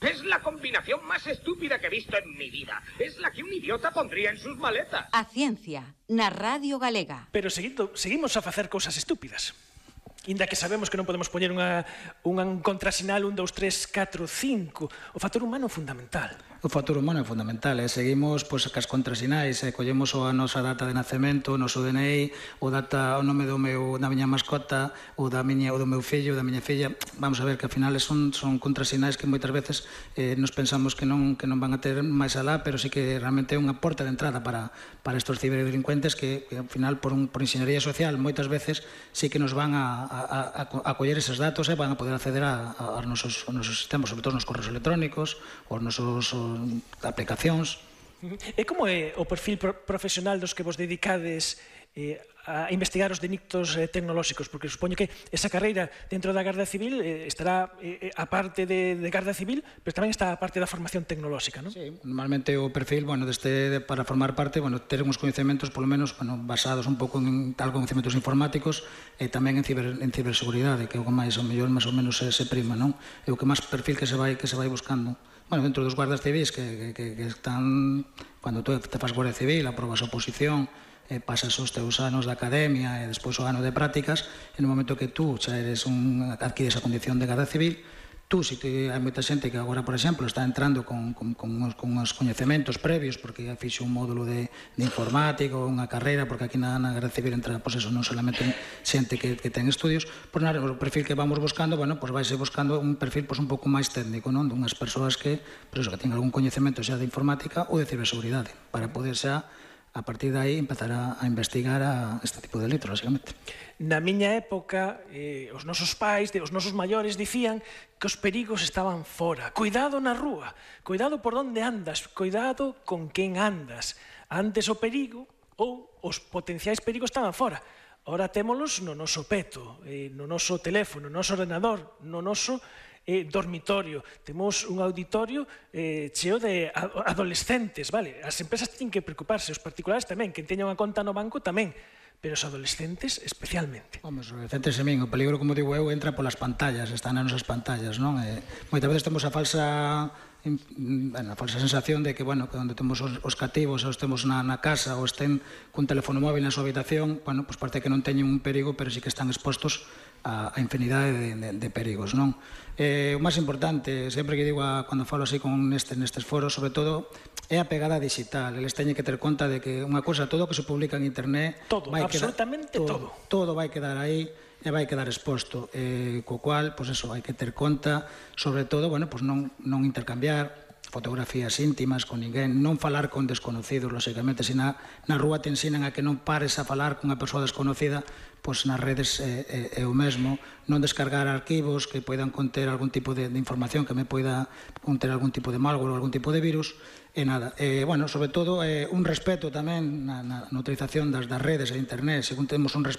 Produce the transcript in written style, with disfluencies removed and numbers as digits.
Es la combinación más estúpida que he visto en mi vida. Es la que un idiota pondría en sus maletas. A ciencia, na Radio Galega. Pero seguimos a facer cousas estúpidas. Inda que sabemos que non podemos poñer un contrasinal 1, 2, 3, 4, 5. O factor humano é fundamental. O factor humano é fundamental, seguimos pois, cas contrasinais, collemos a nosa data de nacemento, o noso DNI, o nome da miña mascota, o do meu fillo, da miña filla. Vamos a ver que ao final son contrasinais que moitas veces nos pensamos que non van a ter máis alá, pero sí que realmente é unha porta de entrada para estos ciberdelincuentes que ao final por enxeñería social moitas veces sí que nos van a coller eses datos e van a poder acceder aos nosos sistemas, sobre todo nos correos electrónicos, aos nosos aplicacións. E como é o perfil profesional dos que vos dedicades a investigar os delitos tecnolóxicos? Porque supoño que esa carreira dentro da Garda Civil estará a parte de Garda Civil, pero tamén está a parte da formación tecnolóxica, non? Sí, normalmente o perfil, para formar parte, ter uns coñecementos, polo menos, basados un pouco en tal coñecementos informáticos e tamén en ciberseguridade, que é o que máis ou menos se prima, non? É o que máis perfil que se vai buscando. Bueno, dentro dos guardas civis que están, cando tú te fas guardia civil, aprobas a oposición, pasas os teus anos de academia e despois o ano de prácticas, e no momento que tú xa adquires a condición de garda civil, tú, se hai moita xente que agora, por exemplo, está entrando con uns coñecementos previos, porque fixe un módulo de informático, unha carreira, porque aquí na Garda Civil entra, pois eso, non solamente xente que ten estudios, pois o perfil que vamos buscando, pois vaise buscando un perfil un pouco máis técnico, non? Dunhas persoas que teñen algún coñecemento xa de informática ou de ciberseguridade, para poder xa a partir de aí empezar a investigar este tipo de delitos, basicamente. Na miña época, os nosos pais, os nosos maiores, dicían que os perigos estaban fora. Cuidado na rúa, cuidado por onde andas, cuidado con quen andas. Antes o perigo ou os potenciais perigos estaban fora. Ora témolos no noso peto, no noso teléfono, no noso ordenador, no noso dormitorio. Temos un auditorio cheo de adolescentes, vale? As empresas teñen que preocuparse, os particulares tamén, que teñan unha conta no banco tamén, pero os adolescentes especialmente. Os adolescentes, o peligro, como digo eu, entra polas pantallas, están nas nosas pantallas, non? Moitas veces temos a falsa sensación de que, onde temos os cativos, os temos na casa, ou estén cun teléfono móvil na súa habitación, pois parece que non teñen un perigo, pero sí que están expostos a infinidade de perigos, non? O máis importante, sempre que digo cando falo así nestes foros, sobre todo, é a pegada digital. Eles teñen que ter conta de que unha cosa, todo o que se publica en internet, todo, absolutamente todo. Todo vai quedar aí e vai quedar exposto, co cual, pois eso, hai que ter conta, sobre todo, pois non intercambiar fotografías íntimas con ninguén, non falar con desconocidos, lóxicamente, se na rúa te ensinan a que non pares a falar con unha persoa desconocida, pois nas redes é o mesmo, non descargar arquivos que poidan conter algún tipo de información que me poida conter algún tipo de malware ou algún tipo de virus, e nada. Sobre todo, un respeto tamén na utilización das redes e internet, según temos un respeto